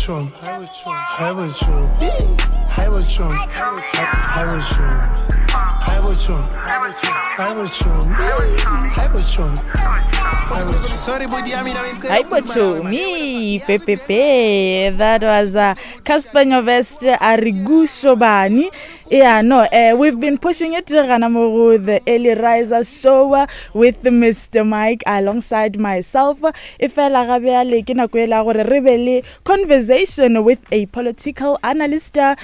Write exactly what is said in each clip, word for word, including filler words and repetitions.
chomi hi chomi hi chomi hi chomi hi chomi hi chomi hi chomi sorry body Hi Bochomi, Pepepe. That was uh, Cassper Nyovest Arigushobani. Yeah, no, uh, we've been pushing it gana mo go the Early Riser Show uh, with Mister Mike alongside myself. E fela ga bjale ke nako e la gore re be le conversation with a political analyst, uh,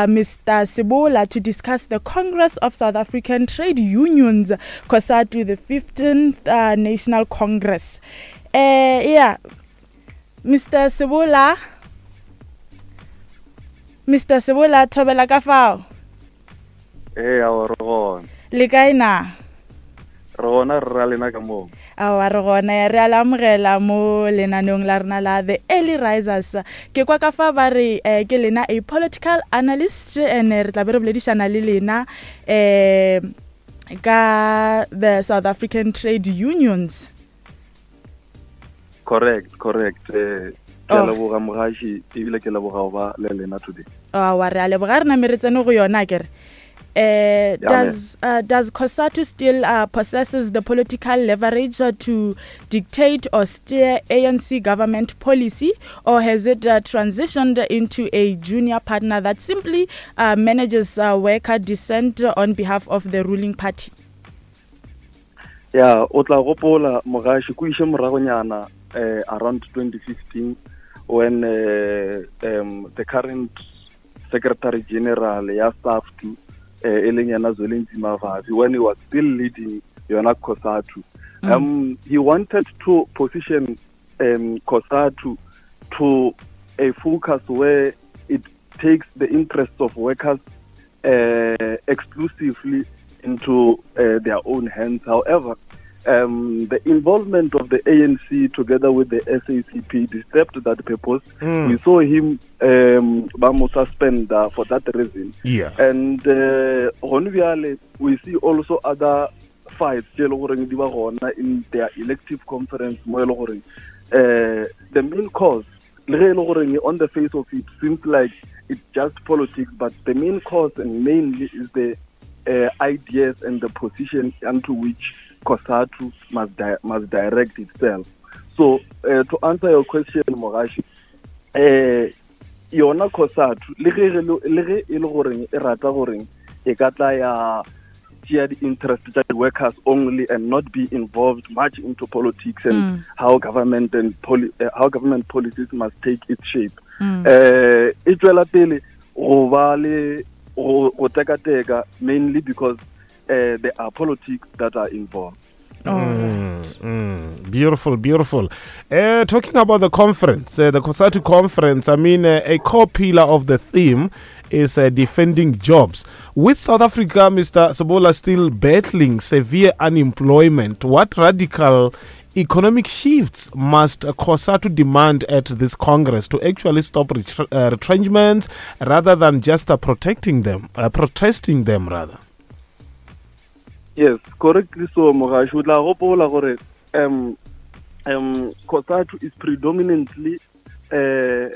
Mister Sebola, to discuss the Congress of South African Trade Unions, COSATU, the fifteenth uh, National Congress. Uh, yeah, Mister Sebola, Mister Sebola, thobela ka fao. Ee, ao re gona. Le kae na? Re gona, re ra lena ka moo. Aowa, re gona, re a le amogela mo lenaneong la rena la The Early Risers. Ke kwa ka fa ba re eh, ke lena a political analyst, and re tla be re boledišana le lena eh ka the South African Trade Unions. Correct, correct. Eh, ke a Oh. leboga mogaši, ebile ke leboga go ba le lena today. Aowa, re a leboga, re name re tsene go yona akere. Uh, Yeah, does uh, does COSATU still uh, possesses the political leverage uh, to dictate or steer A N C government policy, or has it uh, transitioned into a junior partner that simply uh, manages uh, worker dissent on behalf of the ruling party? Ya, o tla gopola mogaši ko iše moragonyana eh, around twenty fifteen when uh, um, the current secretary general ya SAFTU, eh, e leng yena Zwelinzima Vavi, when he was still leading yona COSATU, Mm. um, he wanted to position um, COSATU to a focus where it takes the interests of workers uh, exclusively into uh, their own hands. However, um, the involvement of the A N C together with the S A C P disturbed that purpose. Mm. We saw him um, ba mo suspend uh, for that reason. Yeah. And uh, gone bjale, we see also other fights tše e le goreng di ba gona in their elective conference mo e le goreng uh, the main cause, le ge e le goreng on the face of it seems like it's just politics, but the main cause and mainly is the uh, ideas and the position unto which COSATU must, di- must direct itself. So uh, to answer your question, Mogashi, uh, yona COSATU le ge re le le ge e le goreng e rata goreng e ka tla ya tšea di-interest tša di-workers only and not be involved much into politics and Mm. how government and poli- uh, how government policies must take its shape, Mm. eh e tswela pele go ba le go go tekateka, mainly because uh, there are politics that are involved. All right. Mm, mm, beautiful, beautiful. Uh, talking about the conference, uh, the COSATU conference, I mean, uh, a core pillar of the theme is uh, defending jobs. With South Africa, Mister Sebola, still battling severe unemployment, what radical economic shifts must uh, COSATU demand at this Congress to actually stop retre- uh, retrenchments rather than just uh, protecting them, uh, protesting them rather? Yes, correctly so, Mogashi. O tla gopola gore um um COSATU is predominantly uh,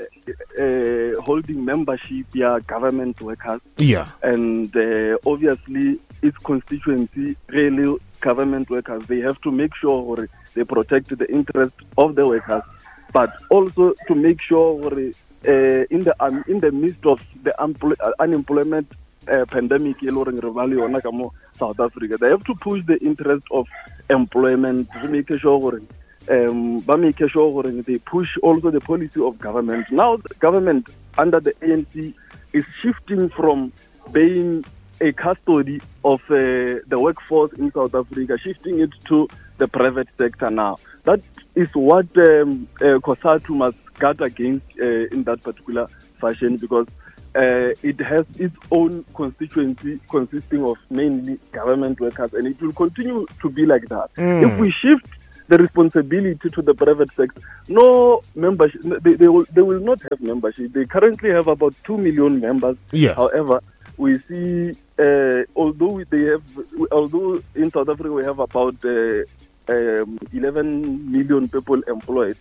uh, holding membership ya government workers Yeah. and uh, obviously its constituency, really government workers, they have to make sure gore they protect the interest of the workers, but also to make sure gore uh, in the um, in the midst of the unempl- uh, unemployment uh, pandemic e le goreng re ba le yona ka mo South Africa, they have to push the interest of employment to make sure gore um ba make sure gore they push also the policy of government. Now the government under the A N C is shifting from being a custody of uh, the workforce in South Africa, shifting it to the private sector now. That is what um, uh, COSATU must guard against uh, in that particular fashion, because uh, it has its own constituency consisting of mainly government workers, and it will continue to be like that. Mm. If we shift the responsibility to the private sector, no membership, they, they, will, they will not have membership. They currently have about two million members. Yeah. However, we see, uh, although they have, although in South Africa we have about uh, um, eleven million people employed,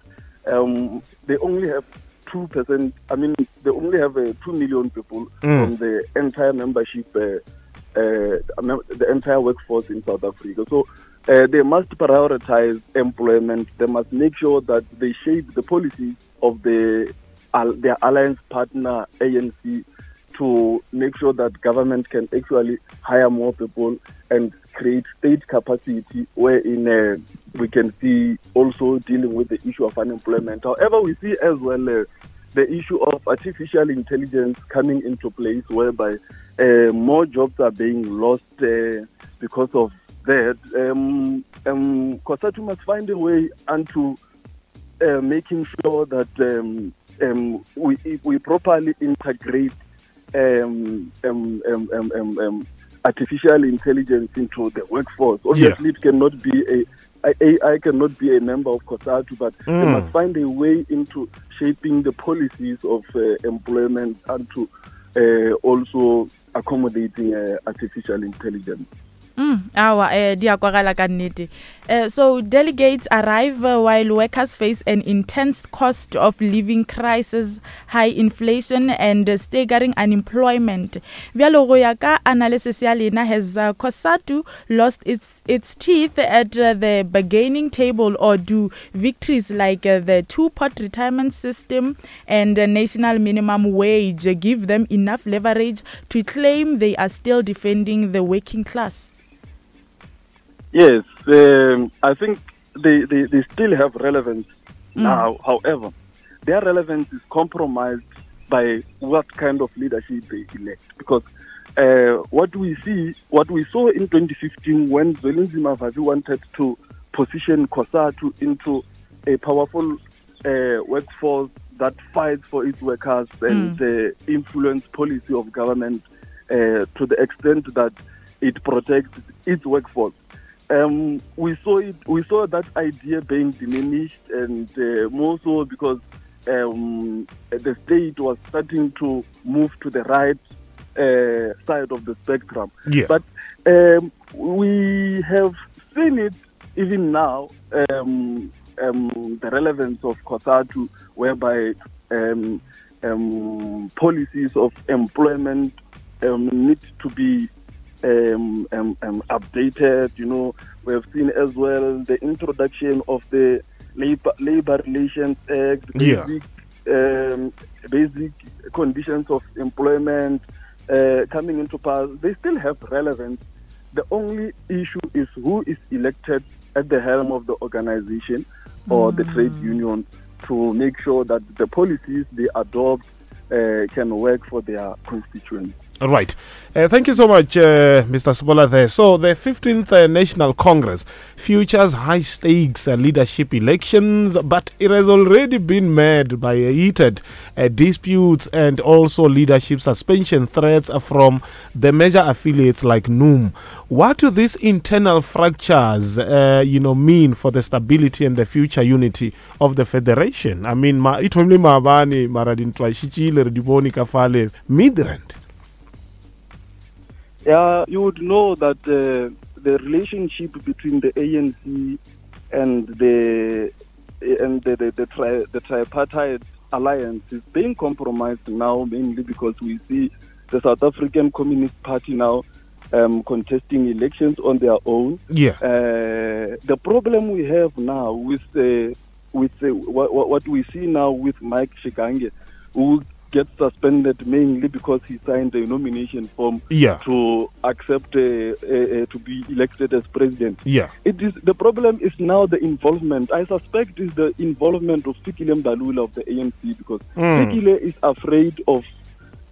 um, they only have two percent. I mean, they only have uh, two million people mm. from the entire membership, uh, uh, the entire workforce in South Africa. So uh, they must prioritize employment. They must make sure that they shape the policies of the uh, their alliance partner, A N C, to make sure that government can actually hire more people and create state capacity wherein uh, we can see also dealing with the issue of unemployment. However, we see as well uh, the issue of artificial intelligence coming into place, whereby uh, more jobs are being lost uh, because of that. Um, um, COSATU must find a way unto uh, making sure that um, um, we, we properly integrate um, um, um, um, um, um, artificial intelligence into the workforce. Obviously, yeah. it cannot be a A I cannot be a member of COSATU, but mm. they must find a way into shaping the policies of uh, employment and to uh, also accommodating uh, artificial intelligence. Mm, awa, eh, di a kwagala ka nnete. Uh, so delegates arrive uh, while workers face an intense cost of living crisis, high inflation, and uh, staggering unemployment. Bjalo go ya ka analysis ya lena, has uh, COSATU lost its, its teeth at uh, the bargaining table, or do victories like uh, the two-pot retirement system and uh, national minimum wage give them enough leverage to claim they are still defending the working class? Yes, um, I think they, they, they still have relevance mm. now. However, their relevance is compromised by what kind of leadership they elect. Because uh, what we see, what we saw in twenty fifteen when Zwelinzima Vavi wanted to position COSATU into a powerful uh, workforce that fights for its workers and mm. uh, influence policy of government uh, to the extent that it protects its workforce. Um, we saw it. We saw that idea being diminished, and uh, more so because um, the state was starting to move to the right uh, side of the spectrum. Yeah. But um, we have seen it even now, um, um, the relevance of COSATU, whereby um, um, policies of employment um, need to be Um, um, um, updated. You know, we have seen as well the introduction of the Labor, Labor Relations Act, basic, yeah. um, basic conditions of employment uh, coming into power. They still have relevance. The only issue is who is elected at the helm of the organization or mm. the trade union to make sure that the policies they adopt uh, can work for their constituents. All right. Uh, thank you so much, uh, Mister Sebola there. So the fifteenth uh, National Congress features high-stakes uh, leadership elections, but it has already been made by heated uh, disputes and also leadership suspension threats from the major affiliates like N U M. What do these internal fractures, uh, you know, mean for the stability and the future unity of the federation? I mean, ma ithomile maabane mara dintwa šitšile re di bone ka fale Midrand. Yeah, you would know that uh, the relationship between the A N C and the and the the, the, tri, the tripartite alliance is being compromised now, mainly because we see the South African Communist Party now um, contesting elections on their own. Yeah. Uh, the problem we have now with uh, with uh, what, what we see now with Mike Shikange, who gets suspended mainly because he signed a nomination form yeah. to accept uh, uh, uh, to be elected as president. Yeah. It is the problem is now the involvement. I suspect is the involvement of Fikile Mbalula of the A N C, because mm. Fikile is afraid of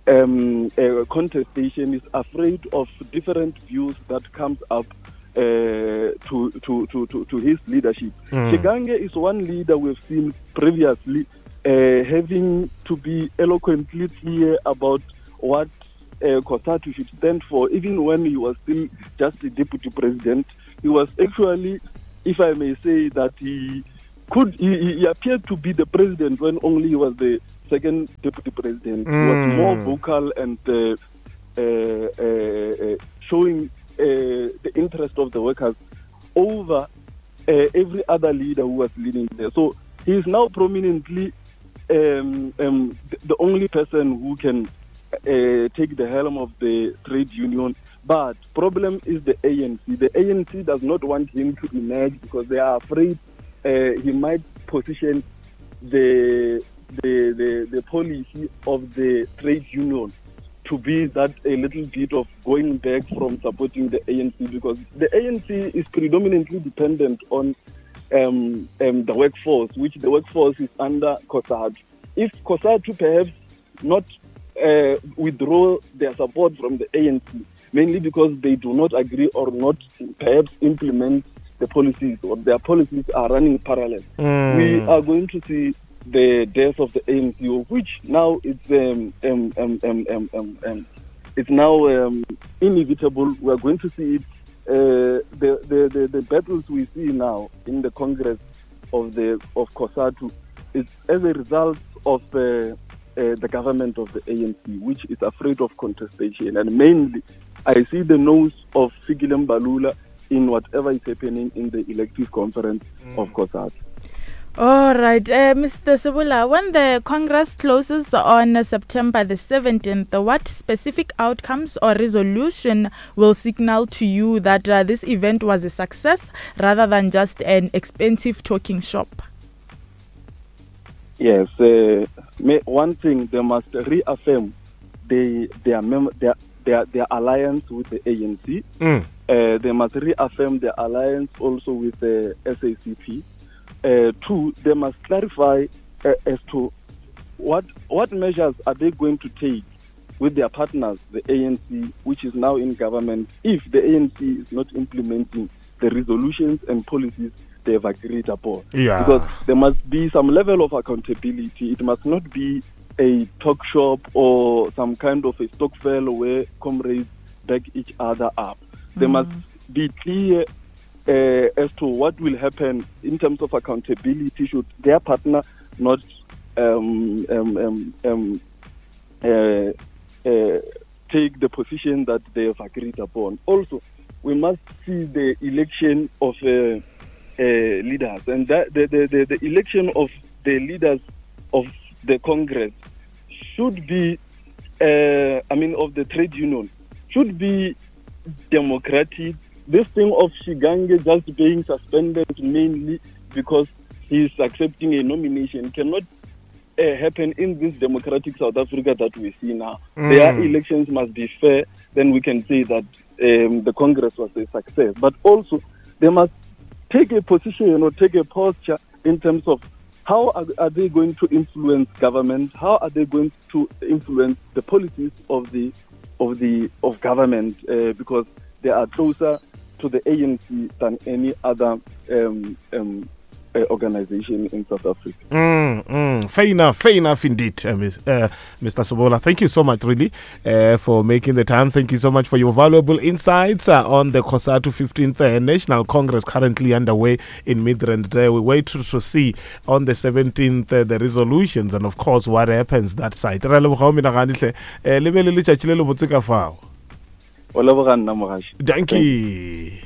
um, uh, contestation, is afraid of different views that comes up uh, to, to, to, to, to his leadership. Mm. Shikange is one leader we've seen previously Uh, having to be eloquently clear about what uh, COSATU should stand for, even when he was still just a deputy president. He was actually, if I may say, that he could, he, he appeared to be the president when only he was the second deputy president. Mm. He was more vocal and uh, uh, uh, uh, showing uh, the interest of the workers over uh, every other leader who was leading there. So he is now prominently um, um, the only person who can uh, take the helm of the trade union. But problem is the A N C. The A N C does not want him to emerge because they are afraid uh, he might position the, the, the, the policy of the trade union to be that a little bit of going back from supporting the A N C, because the A N C is predominantly dependent on um, um, the workforce, which the workforce is under COSATU. If COSATU perhaps not uh, withdraw their support from the A N C, mainly because they do not agree or not perhaps implement the policies, or their policies are running parallel, mm. we are going to see the death of the A N C, which now it's um, um, um, um, um, um, um, it's now um, inevitable. We are going to see it. Uh, the, the, the, the battles we see now in the Congress of the of COSATU is as a result of uh, uh, the government of the A N C, which is afraid of contestation. And mainly, I see the nose of Fikile Mbalula in whatever is happening in the elective conference mm. of COSATU. All right, uh, Mister Sebola, when the Congress closes on September the seventeenth, what specific outcomes or resolution will signal to you that uh, this event was a success rather than just an expensive talking shop? Yes, uh, one thing, they must reaffirm the, their, mem- their, their, their alliance with the A N C. Mm. Uh, they must reaffirm their alliance also with the S A C P. Uh, two, they must clarify uh, as to what what measures are they going to take with their partners, the A N C, which is now in government, if the A N C is not implementing the resolutions and policies they have agreed upon. Yeah. Because there must be some level of accountability. It must not be a talk shop or some kind of a stokvel where comrades back each other up. They mm. must be clear Uh, as to what will happen in terms of accountability should their partner not um, um, um, um, uh, uh, take the position that they have agreed upon. Also, we must see the election of uh, uh, leaders, and that the, the, the, the election of the leaders of the Congress should be, uh, I mean, of the trade union, should be democratic. This thing of Shingange just being suspended mainly because he's accepting a nomination cannot uh, happen in this democratic South Africa that we see now. Mm. Their elections must be fair, then we can say that um, the Congress was a success. But also, they must take a position or take a posture in terms of how are, are they going to influence government? How are they going to influence the policies of the of the of government? Uh, because they are closer to the A N C than any other um, um, uh, organization in South Africa. Mm, mm. Fair enough, fair enough indeed, uh, Miz, uh, Mister Sebola. Thank you so much, really, uh, for making the time. Thank you so much for your valuable insights uh, on the COSATU fifteenth uh, National Congress currently underway in Midrand. There, we wait to, to see on the seventeenth uh, the resolutions and, of course, what happens that side. Dankie.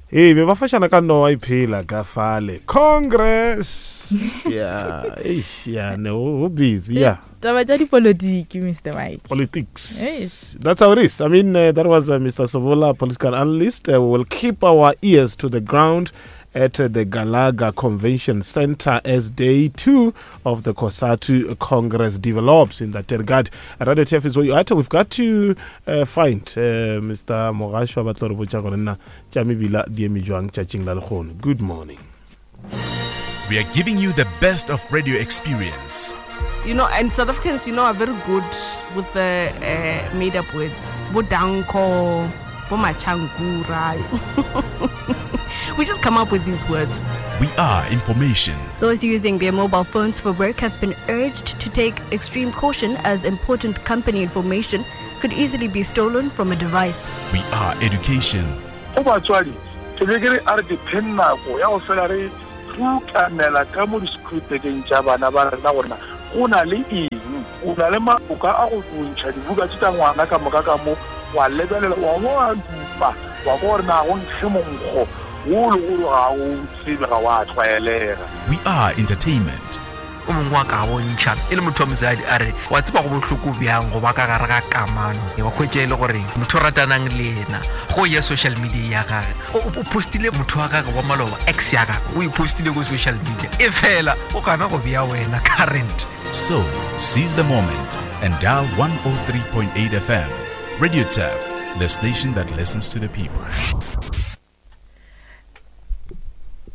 Hey, be ba fashana ka no a iphela ka fale. Congress. Yeah, eish, yeah, no, busy, yeah. Taba tsa dipolotiki, Mister Mike. Politics. Yes. That's how it is. I mean, uh, that was uh, Mister Sebola, political analyst. Uh, we will keep our ears to the ground at uh, the Galaga Convention Center as day two of the COSATU Congress develops in that regard. Radio T F is where you are. We've got to uh, find uh, Mister Mogashoa ba tlo re botša gore na tša mebila di eme jwang tšatšing la lehono. Good morning. We are giving you the best of radio experience. You know, and South Africans, you know, are very good with the uh, made-up words. Bodanko, Bomachankura. We just come up with these words. We are information. Those using their mobile phones for work have been urged to take extreme caution as important company information could easily be stolen from a device. We are education. Go batswadi, ke be ke re a re diphe nako ya go fela re rutamela ka mo di-scriptekeng tša bana ba rena gore go na le eng, o na le maboka a go ntšha dibuka tše tša ngwana ka moka ka mo, wa lebelela wa wa dupa wa gore na go nkge monkgo wo le gore ga o tsebe ga wa tlwaelega. We are entertainment. o mongwe wa ka bontšha e le motho wa mosadi a re wa tseba go bohloko bjang go ba ka gare ga kamano wa hwetša e le gore motho o ratanang le yena go ya social media ya gage o postile motho wa gage wa maloba ex ya gage o e postile ko social media e fela o gana go bea wena current. So seize the moment and dial one oh three point eight F M. Radio Turf, the station that listens to the people.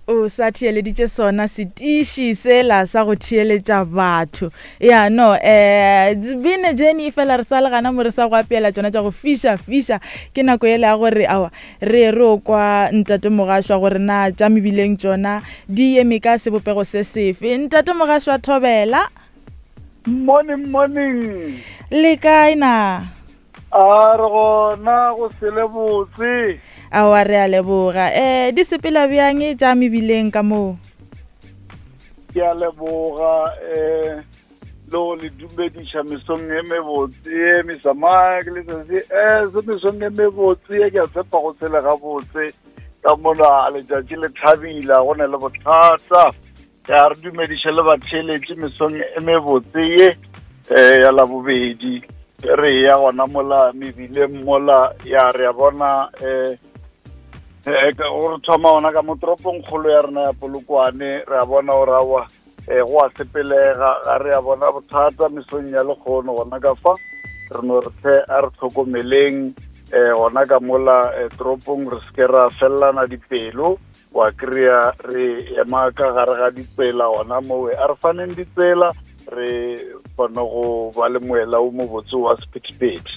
O sa theeleditše sona setiši sela sa go theeletša batho. Ya no, eh been a journey fela re sa le gana mo re sa go apeela tšona tša go fiša fiša. Ke nako ele ya gore awa re re o kwa ntate Mogašwa gore na tša mebileng tšona di eme ka sebopego se sefe. Ntate Mogašwa thobela. Morning, morning. Le kae na? A re gona go sele botse. Awa re a leboga. Eh di sepela bjang tša mebileng ka moo? Ke a leboga eh lo le dumediša mesong e mebotse, Mister Mike le se eh se mesong e mebotse ke a tshepa go tshela ga botse ka mona letšatši le thabila go na le bothata. Ya re dumediša le batheeletši mesong e mebotse ye eh ya labobedi. Re ya gona mola mebileng mola ya re a bona eh eh go thoma ona ka motoropong kgolo ya rena ya Polokwane re a bona o rawa eh go a sepelega ga re a bona bothata mesong ya lekgono gona ka fa re no re tle a re tlhokomeleng eh gona ka mola toropong re se ra fellana dipelo wa kria re ema ka gare ga ditsela gona mowe a re faneng ditsela re kgone go ba le moela o mobotse wa sephethephethe.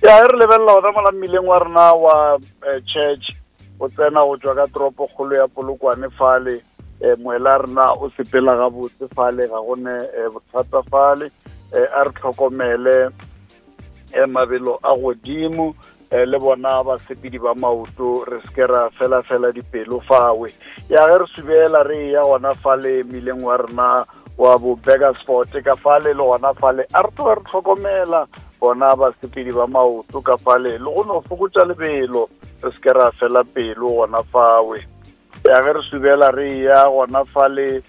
Ya re lebelela gona mola mmileng wa rena wa church o tsena go tswa ka toropo kgolo ya Polokwane fale moela rena o sepela gabotse fale ga gone bothata fale a re tlhokomele mabelo a godimo le bona basepedi ba maoto re se ke ra fela fela dipelo fawe. Ya ge re subela re ya gona fale mmileng wa rena wa bo Burgersfort ka fale le gona fale a re tloga re tlhokomela bona basepedi ba maoto ka fale le go no fokotša lebelo re se ke ra fela pelo gona fawe. Ya ge re subela re ya gona fale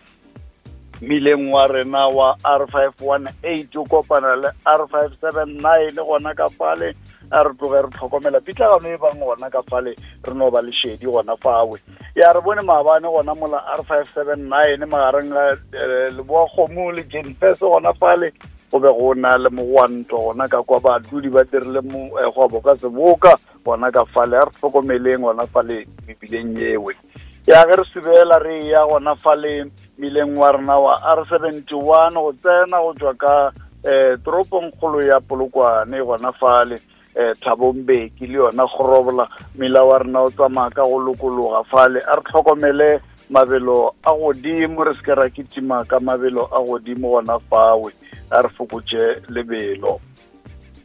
mmileng wa rena wa R five one eight o kopana le R five seven nine gona ka fale a re tloge re tlhokomela pitlagano e bang gona ka fale re no ba le šedi gona fawe. Ya re bone maabane gona mola R five seven nine magareng ga Leboa Kgomo le Jenfes gona fale go be go na le mogwanto gona ka kwa badudi ba dirile kgwebo ka seboka gona ka fale a re tlhokomeleng gona fale mebileng yewe. Ya ge re subela re ya gona fale mmileng wa rena wa R seventy one go tsena go tswa ka eh toropong kgolo ya Polokwane gona fale eh Thabo Mbeki le yona Gorobola mmila wa rena o tsamaya ka go lokologa fale a re tlhokomele mabelo a godimo re se ke ra kitima ka mabelo a godimo gona fawe a re fokotše lebelo.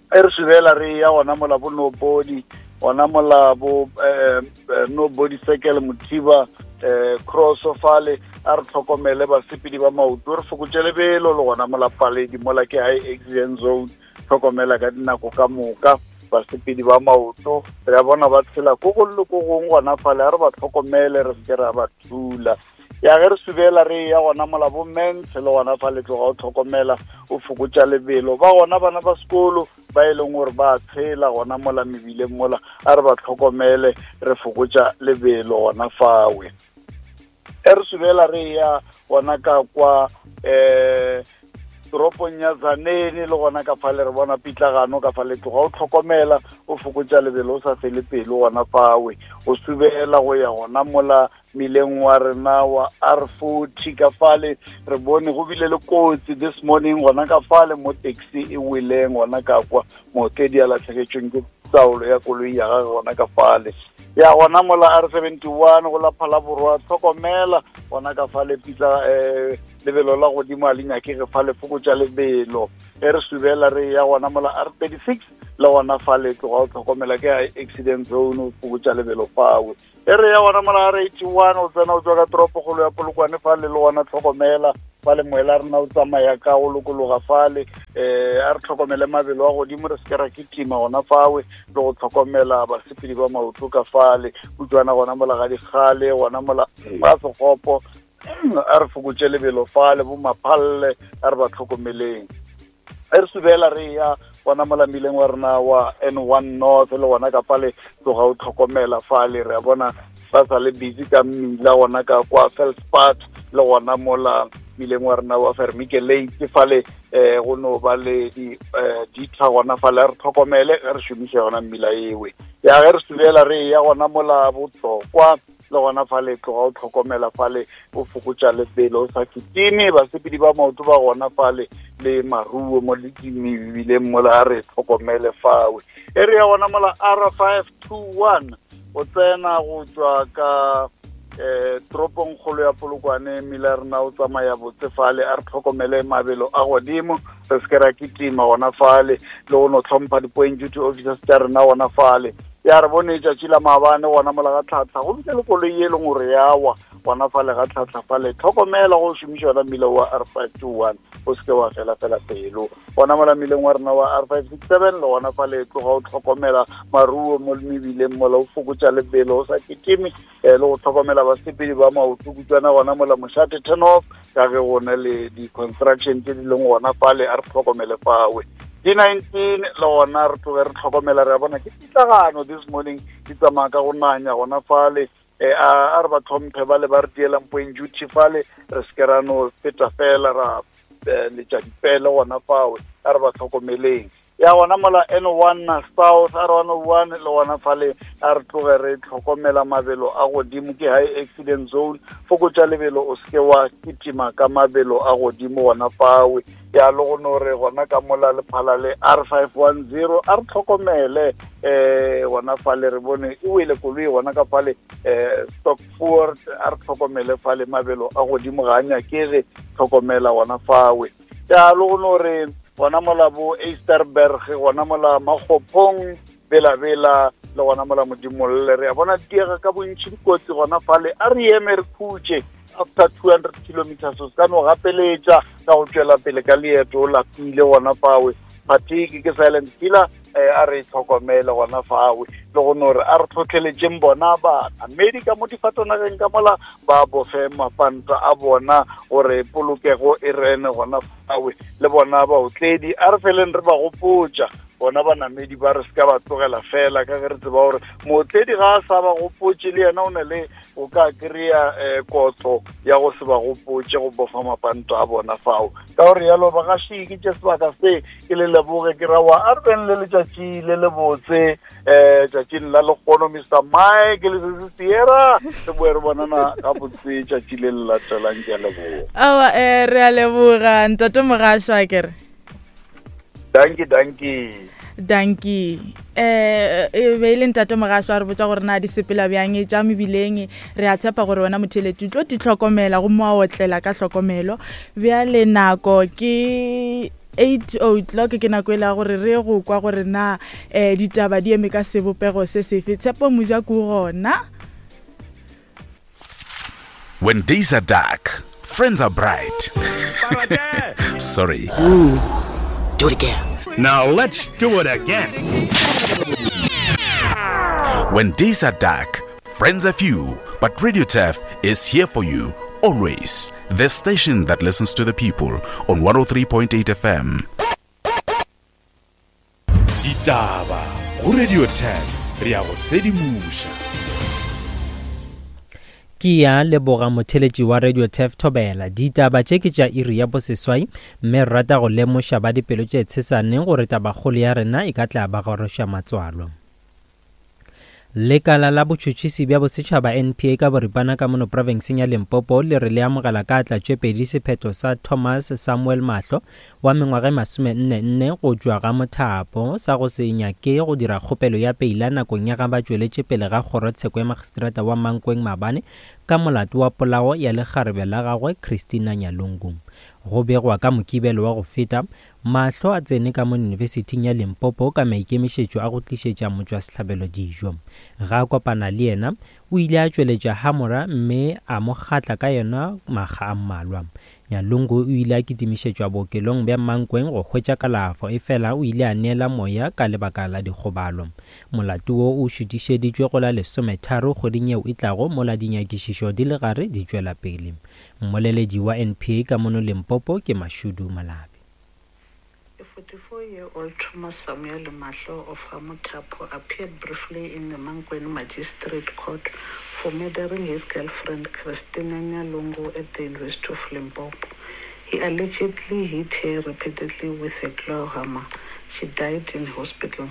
E re subela re ya gona mola bo Nobody gona mola bo eh Nobody Circle Mothiba eh cross fale a re tlhokomele basepedi ba maoto re fokotše lebelo le gona mola Paledi mola ke high accident zone tlhokomela ka dinako ka moka basepedi ba maoto re a bona ba tshela ko go le ko gongwe gona fale a re ba tlhokomele re se ke ra ba thula. Ya ge re subela re ya gona mola bo Mentshe le gona fale tloga o tlhokomela o fokotša lebelo ba gona bana ba sekolo ba e leng gore ba tshela gona mola mebileng mola a re ba tlhokomele re fokotša lebelo gona fawe. E re subela re ya gona ka kwa eh toropong ya Tzaneen le gona ka fale re bona pitlagano ka fale tloga o tlhokomela o fokotša lebelo o sa fele pelo gona fawe o subela go ya gona mola mmileng wa rena wa R forty ka fale re bone go bile le kotsi this morning gona ka fale mo taxi e weleng gona ka kwa mootledi a latlhegetšweng ke taolo ya koloi ya gagwe gona ka fale. Ya gona mola R seventy one go la Phalaborwa tlhokomela gona ka fale pitla eh lebelo la godimo a le nyakege fale fokotša lebelo. E re subela re ya gona mola R thirty six le gona fale tloga o tlhokomela ke accident zone o fokotša lebelo fawe. E re ya gona mola R eighty one o tsena o tswa ka toropokgolo ya Polokwane fale le gona tlhokomela fale moela rena o tsamaya ka go lokologa fale eh a re tlhokomele mabelo a godimo re se ke ra kitima gona fawe le go tlhokomela basepedi ba maoto ka fale utlwana gona mola ga dikgale gona mola ga Sekgopo A re fokotše lebelo fale, bo Maphalle, a re ba tlhokomeleng. E re subela re ya gona mola mmileng wa rena wa N one North, le gona ka fale tloga o tlhokomela fale. Re a bona ba sa le busy ka mmila gona ka kwa Felspart, le gona mola mmileng wa rena wa Vermike Lake fale, um go no ba le di ditha gona fale. A re tlhokomele ge re šomiša yona mmila ewe. Ya ge re subela re ya gona mola Botlokwa, le gona fale tloga o tlhokomela fale, o fokotša lebelo, o sa kitime basepedi ba maoto ba gona fale le maruo mo le dimebileng mola, a re tlhokomele fawe. E re ya gona mola R five two one o tsena go tšwa ka eh toropong kgolo ya Polokwane, mmila rena o tsamaya botse fale. A re tlhokomele mabelo a godimo, re se ke ra kitima gona fale, le go no tlhompha di-point duty officers tša rena gona fale. Ya re bone tšatši la maabane gona mola ga Tlhatlha go bile le koloi e leng gore ya wa gona fale ga Tlhatlha fale. Tlhokomela go šomiša yona mmila wa R five two one, o se ke wa fela fela pelo. Gona mola mmileng wa rena wa R five six seven, le gona fale tloga o tlhokomela maruo mo mebileng mola, o fokotša lebelo, o sa kitime, le go tlhokomela basepedi ba maoto kutswana gona mola Mošate turn off, ka ge gona le di-construction tse di leng gona fale. A re tlhokomele fawe. D nineteen le gona re tloge re tlhokomela, re a bona ke pitlagano this morning, di tsamaya ka go nanya gona fale. Eh, a re ba tlhomphe ba le ba re dielang point duty fale, re se ke ra no feta fela ra letša dipele gona fawe. A re ba tlhokomeleng. Ya gona mola N one South, R one oh one le gona fale a re tloge re tlhokomela mabelo a godimo, ke high accident zone. Fokotša lebelo, o se ke wa kitima ka mabelo a godimo gona fawe. Ya le go no re gona ka mola Lephala le R five one zero, a re tlhokomele eh gona fale, re bone e wele koloi gona ka fale eh Stockford. A re tlhokomele fale, mabelo a godimo ga a nyakege, tlhokomela gona fawe. Ya le go no re gona mola bo Easterberg, gona mola Makgophong, Bela-Bela, le gona mola Modimolle, re a bona diega ka bontši dikotsi gona fale. A re eme re khutše after two hundred kilometers, o se ka no gapeletša ka go tšwela pele ka leeto, o lapile gona fawe. Fatigue ke silent killer, a re tlhokomele gona fawe. Le go no re a re tlhotlheletšeng bona banamedi ka mo difatanageng ka mola, ba bofe mapanta a bona gore polokego e rene gona fawe. Le bona baotledi a re feleng re ba gopotša bona banamedi ba, re se ka ba tlogela fela, ka ge re tseba gore mootledi ga a sa ba gopotše le yena o na le o ka kry-a um kotlo ya go se ba gopotše go bofa mapanto a bona fao. Ka gore yalo bagaši, ke tše sebaka se ke le leboge, ke rawa a re beng le letšatši le le botse um tšatšing la lekgono. Mister Mike le Sesi Sierra, re boe re bonana gabotse tšatši le le latelang. Ke a leboga. Aowa, um re a leboga ntate Mogašwa, kere. Dankie, dankie. Dankie. Eh e be le ntate Mogašwa a re botša gore na di sepela bjang tša mebileng. Re a tshepa gore wena motheletši o tlo di tlhokomela gomme wa otlela ka tlhokomelo. Bjale nako ke eight o'clock, ke nako e la gore re go kwa gore na eh ditaba di eme ka sebopego se sefe. Tshepo Mojako gona. When days are dark, friends are bright. Sorry. Ooh. Do it again. Now let's do it again. When days are dark, friends are few, but Radio Turf is here for you always. The station that listens to the people on one oh three point eight F M. Ditaba go Radio Turf, re a go sedimoša. Ke ya leboga motheletši wa Radio Turf Thobela. Ditaba tše ke tša iri ya boseswai, mme re rata go lemoša ba dipelo tše tshesaneng gore tabakgolo ya rena e ka tla ba goroša matswalo. Lekala la botšhotšhisi bja bosetšhaba N P A ka boripana ka mono profenseng ya Limpopo le re le amogela ka atla tše pedi sephetho sa Thomas Samuel Mahlo wa mengwaga e masome nne nne go tšwa ga Mothapo sa go se nyake go dira kgopelo ya peila nakong ya ga ba tšweletše pele ga kgorotsheko ya magistrata wa Mankweng maabane ka molato wa polao ya lekgarebe la gagwe Christina Nyalungu. Go begwa ka Mokibelo wa go feta, Mahlo a tsene ka mo yunibesithing ya Limpopo ka maikemišetšo a go tlišetša motšwasehlabelo dijo. Ga a kopana le yena, o ile a tšweletša hamora mme a mo kgatla ka yona makga a mmalwa. Nyalungu o ile a kitimišetšwa bookelong bja Mankweng go hwetša kalafo, efela o ile a neela moya ka lebaka la dikgobalo. Molato wo o šutišeditšwe go la lesometharo kgweding yeo e tlago mola dinyakišišo di le gare di tšwela pele. Mmoleledi wa N P A ka mono Limpopo ke Mashudu Malabi. A forty-four-year-old Thomas Samuel Mahlo of Gamothapo appeared briefly in the Mankweng Magistrate Court for murdering his girlfriend Christina Nyalungu at the University of Limpopo. He allegedly hit her repeatedly with a claw hammer. She died in hospital.